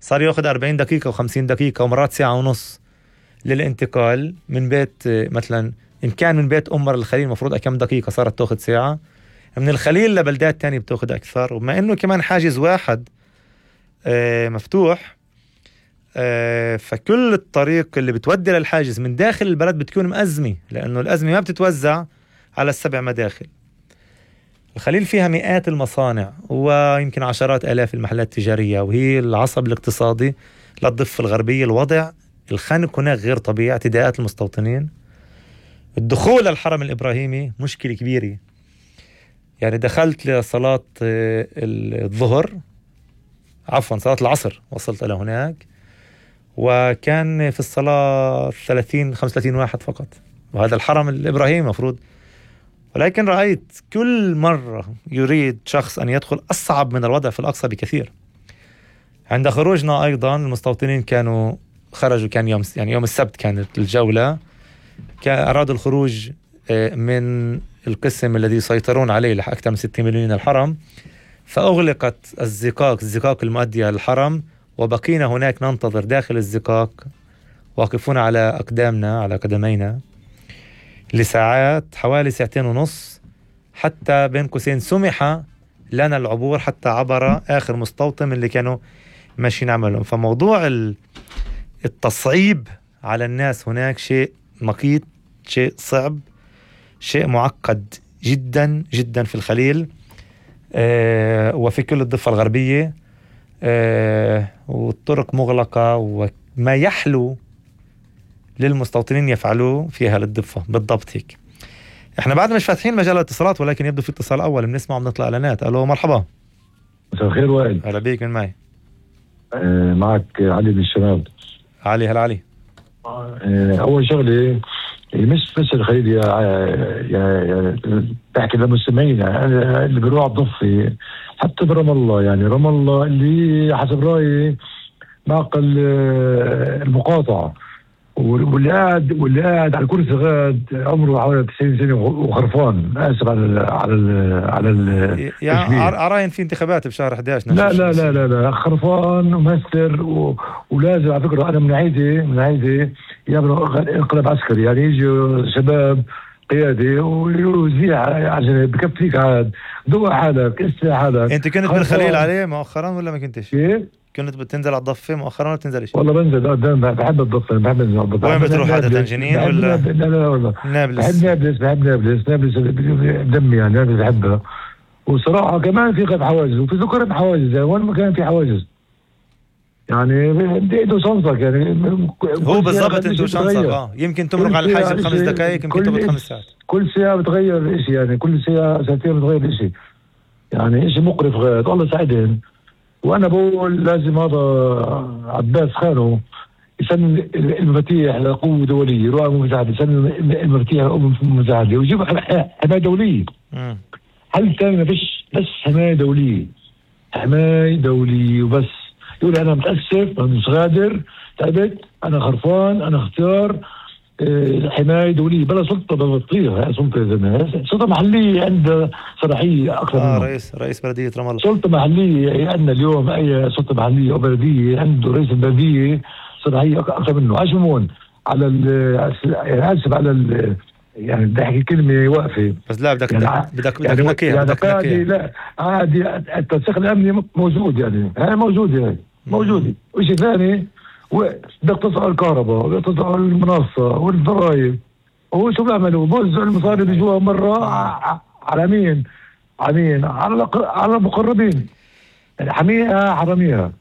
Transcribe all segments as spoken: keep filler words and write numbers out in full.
صار يأخذ أربعين دقيقة وخمسين دقيقة ومرات ساعة ونص للانتقال من بيت، مثلا إن كان من بيت أمر الخليل مفروض كم دقيقة صارت تأخذ ساعة، من الخليل لبلدات تانية بتأخذ أكثر. وما إنه كمان حاجز واحد آه مفتوح، آه فكل الطريق اللي بتودي للحاجز من داخل البلد بتكون مأزمة، لأنه الأزمة ما بتتوزع على السبع مداخل. الخليل فيها مئات المصانع ويمكن عشرات آلاف المحلات التجارية، وهي العصب الاقتصادي للضفة الغربية. الوضع الخنق هناك غير طبيعي، اعتداءات المستوطنين. الدخول للحرم الإبراهيمي مشكلة كبيرة، يعني دخلت لصلاة الظهر عفوا صلاة العصر وصلت إلى هناك، وكان في الصلاة ثلاثين خمسة وثلاثين واحد فقط، وهذا الحرم الإبراهيمي مفروض. ولكن رأيت كل مرة يريد شخص أن يدخل أصعب من الوضع في الأقصى بكثير. عند خروجنا أيضا المستوطنين كانوا خرجوا، كان يوم يعني يوم السبت كانت الجولة، أرادوا الخروج من القسم الذي يسيطرون عليه لأكثر من ستين مليون الحرم، فأغلقت الزقاق الزقاق المؤدية للحرم، وبقينا هناك ننتظر داخل الزقاق واقفون على أقدامنا على قدمينا لساعات، حوالي ساعتين ونص، حتى بين قوسين سمح لنا العبور حتى عبر آخر مستوطن اللي كانوا ماشيين عملهم. فموضوع التصعيب على الناس هناك شيء مقيت، شيء صعب، شيء معقد جدا جدا في الخليل آه وفي كل الضفة الغربية آه والطرق مغلقة، وما يحلو للمستوطنين يفعلوه فيها للضفة بالضبط هيك. احنا بعد مش فاتحين مجال الاتصالات، ولكن يبدو في اتصال اول بنسمع وبنطلع اعلانات. الو مرحبا. مساء الخير وائل. هلا بيك، من معي؟ آه معك علي من الشباب. علي، هلا علي. آه اول شغله مش بس الخليل يا يا يا بحكي لمستمعينا اللي بيروح على الضفه، حتى برام الله، يعني رام الله اللي حسب رايي معقل المقاطعه، واللي قاعد واللي قاعد على الكرسي غاد عمره حوالي تسعين سنه وخرفان، اسف على ال على ال على ال يعني اراهن في انتخابات بشهر إحدى عشر. لا لا لا لا لا خرفان ومهستر و... ولازم على فكره انا من عيدي من عيدي يعملوا انقلاب عسكري، يعني يجوا شباب قيادي ويزيع عشان بكفيك عاد ضوء حالك اسمع حالك. انت كنت بالخليل عليه مؤخرا ولا ما كنتش؟ ايه كنت بتنزل على الضفة مؤخرا ولا بتنزلش؟ والله بنزل قدام، بحب الضفة، بحب انزل على الضفة. وين بتروح عادة، جنين ولا؟ لا لا والله نابلس. بحب نابلس، بحب نابلس نابلس بدمي، يعني نابلس بحبها. وصراحة كمان في قد حواجز وفي ذكر حواجز، يعني وين ما كان في حواجز يعني بدي ادو شنصك، يعني هو بالضبط ادو شنصك. اه يمكن تمرق على الحاجة بخمس دقائق، يمكن تبقى خمس ساعات. كل ساعة بتغير اشي، يعني كل ساعة ساعتين بتغير اشي، يعني اشي مقرف غاية. الله يساعدهم. وانا بقول لازم هذا عباس خانو يسمي المفاتيح لقوة دولية، يروح المساعدة يسمي المفاتيح لقوة مساعدة ويجيب حماية دولية. حل ثاني ما فيش، بس حماية دولية، حماية دولية وبس. يقول انا متأسف، انا مش غادر، تعبت، انا خرفان، انا اختيار اه حماية دولية بلا سلطة بطيئة. سلطة زمان سلطة محلية عندها صلاحية أكثر آه منه. رئيس رئيس بلدية رام الله. سلطة محلية عندنا اليوم، أي سلطة محلية أو بلدية عنده رئيس البلدية صلاحية أكثر منه. عشمون على ال يعني آسف على ال يعني بدي أحكي كلمة واقفة، بس لا بدك يعني بدك يعني بدك نكيها يعني بدك عادي. نكيها. لا عادي، التنسيق الأمني موجود، يعني هاي موجودة، هاي موجودة. وشيء ثاني بدك تصل الكهرباء وبدك تصل المنصة والضرائب، هو شو بيعملوا؟ بوزعوا المصاري اللي جوا مرة على مين؟ على مين؟ على على المقربين، يعني حميها حراميها،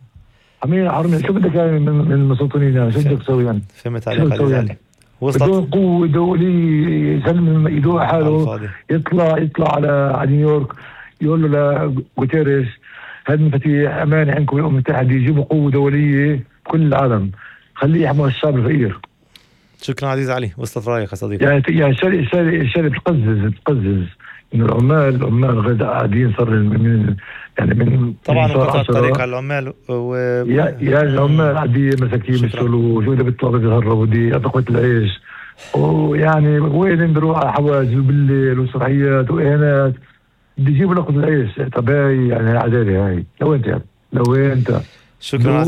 حميها حراميها. شو بدك يعني من من المستوطنين؟ يعني شو بدك تسوي يعني؟ فهمت عليك علي يعني. بدون قوة دولية يسلم ايده حاله، يطلع يطلع على على نيويورك يقول له لغوتيريس هذه المفاتيح امانة عندكم الامم المتحدة، يجيبوا قوة دولية بكل العالم، خليه يحمي الشعب الفقير. شكرا عزيز علي، وصلت رايك يا صديقي. يعني يعني الشارع الشارع الشارع بتقزز بتقزز انه العمال العمال غير قاعدين صار من يعني من طبعا انقطع الطريق على العمال و يا يا العمال قاعدين مساكين بيشتغلوا، شو اذا بيطلعوا بيتهربوا بدي اعطوا العيش، ويعني وين بيروح على حواجز بالليل وصلاحيات واهانات، بدي يجيبوا لقمة العيش. طب هاي يعني عدالة هاي؟ لو انت يعني لو انت شكرا.